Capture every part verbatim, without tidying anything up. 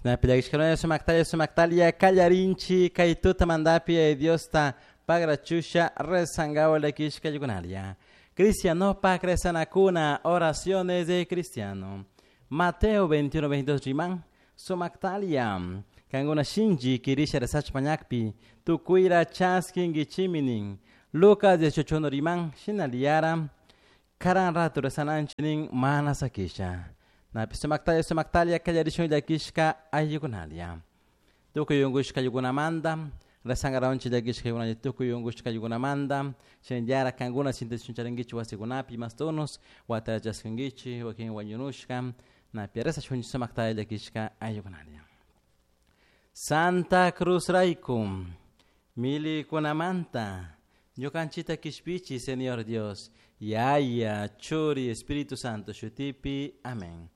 Shinapi sumaktalia sumaktalia kallarinchi kay tutamantapi Diosta pagrachusha rezangawa llakishka ayukunalia. Cristianopak rezanakuna, oraciones de cristiano. Mateo veintiuno veintidós riman sumaktalia. Kankuna shinchi kirisha rezachpa mañakpi tukuyra chaskinkichiminin. Lucas dieciocho uno riman shinaliyara karan rato rezananchinin mana sakisha. Napi sumaktalia sumaktalia kallarishun llakishka ayukunalia. Tukuy unkushka ayukunamanta rezangaraunchik llakishka ayukunalla tukuy unkushka ayukunamanta shinallara kankuna sintichun wasikunapi mastunos watara chaskinkichik wakin wañunushka napi rezashunchik sumaktalia llakishka ayukunalia. Santa Cruz rayku milikunamanta ñukanchita kishpichi Señor Dios, Yaya, Churi, Espíritu Santo shutipi. Amén.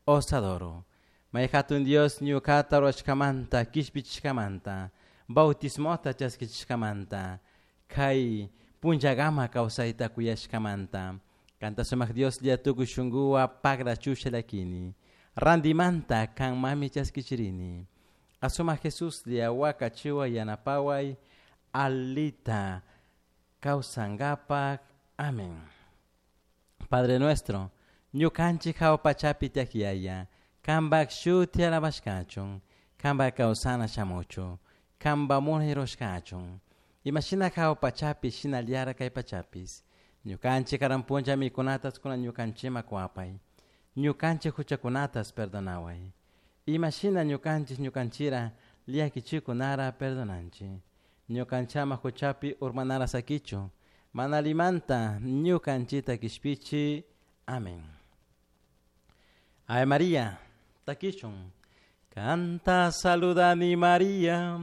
Os adoro. May hatun Dios ñukata rurashkamanta, kishpichishkamanta, bautismota chaskichishkamanta, kay punllagama kawsayta kuyashkamanta, kanta sumak Dios lla tukuy shunkuwa pagrachusha llakini, randimanta kanmami chaskichirini. Asuma Jesús lla wakachiwa yanapaway alita kawsankapak. Amén. Padre nuestro, ñukanchik hawa pachapi tiyak Yaya, kanpak shuti alabashkachun, kanpak kawsana shamuchun, kanpak munay rurashkachun. Imashina hawa pachapi shinallara kay pachapis. Ñukanchik karan punlla mikunatas kunan ñukanchikman kuwapay. Ñukanchik huchakunatas perdonaway. Imashina ñukanchik ñukanchira llakichikunara perdonanchik. Ñukanchama huchapi urmanara sakichu. Mana allimanta ñukanchita kishpichi. Amén. Ave María, takishun. Kanta saludani María,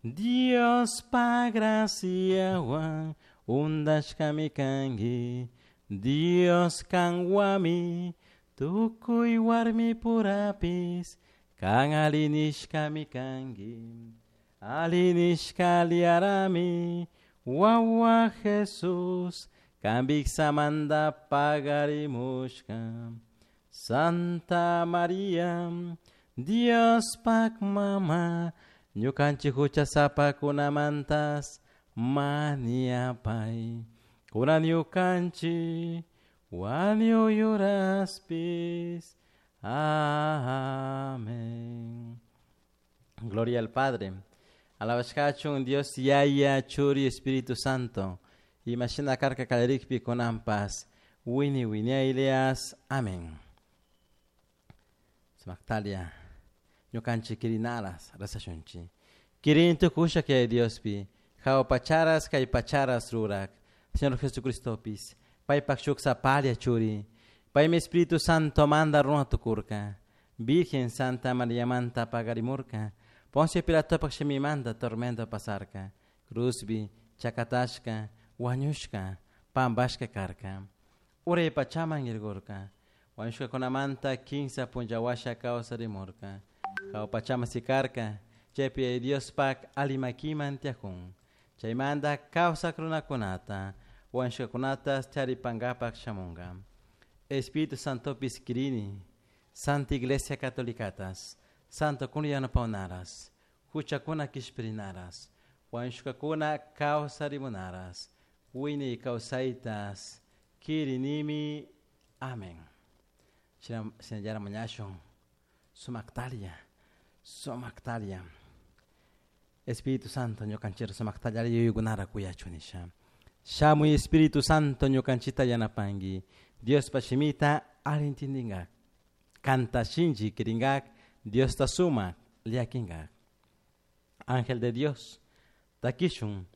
Dios pa graciawan undashkami kanki, Dios kanwami, tukuy warmi purapis, kan alinishkami kanki. Alinishka liarami, wawa Jesús, kanpik samanta pagarimushka. Santa María, Dios pak mama, ñukanchik huchasapakunamantas mañapay. Kunan ñukanchik wañuy uraspis. Amén. Gloria al Padre. Alabashkachun Dios Yaya, Churi, Espíritu Santo. Imashina karka kallarikpi kunanpas. Wini wiñaylias. Amén. Sumaktalia. Ñukanchik kirinaras rezashunchik. Kirin tukusha kay Diospi. Hawa pacharas kay pacharas rurak. Señor Jesucristopis. Paypak shuk sapalla churi. Paymi Espíritu Santo manda runa tukurka. Virgen Santa María manta pagarimurka. Poncio Pilatopak shimimanta tormento pasarka. Cruzbi, chakatashka, wañushka, pampashka karka. Uray pachaman irgurka. Wañushkakunamanta kinsa punlla washa kawsarimurka. Hawa pachaman sikarka. Chaypi Diospak alli makiman tiyakun. Chaymanta kawsak runakunata, wañushkakunata charipankapak shamunka. Espíritu Santopis kirini, Santa Iglesia Catolicatas, Santo kuna yanapawnaras, huchakuna kishpirinaras, wañushkakuna kawsarimunaras, wiñay kawsaytas, kirinimi. Amén. Shinallara mañashun, sumaktalia, sumaktalia. Espíritu Santo ñukanchira sumaktalia yuyaykunara kuyachun nisha. Shamuy Espíritu Santo ñukanchita yanapanki, Diospa shimita alli intindingak, kanta shinchi kiringak, Diosta sumak llakinkak. Ángel de Dios, takishun.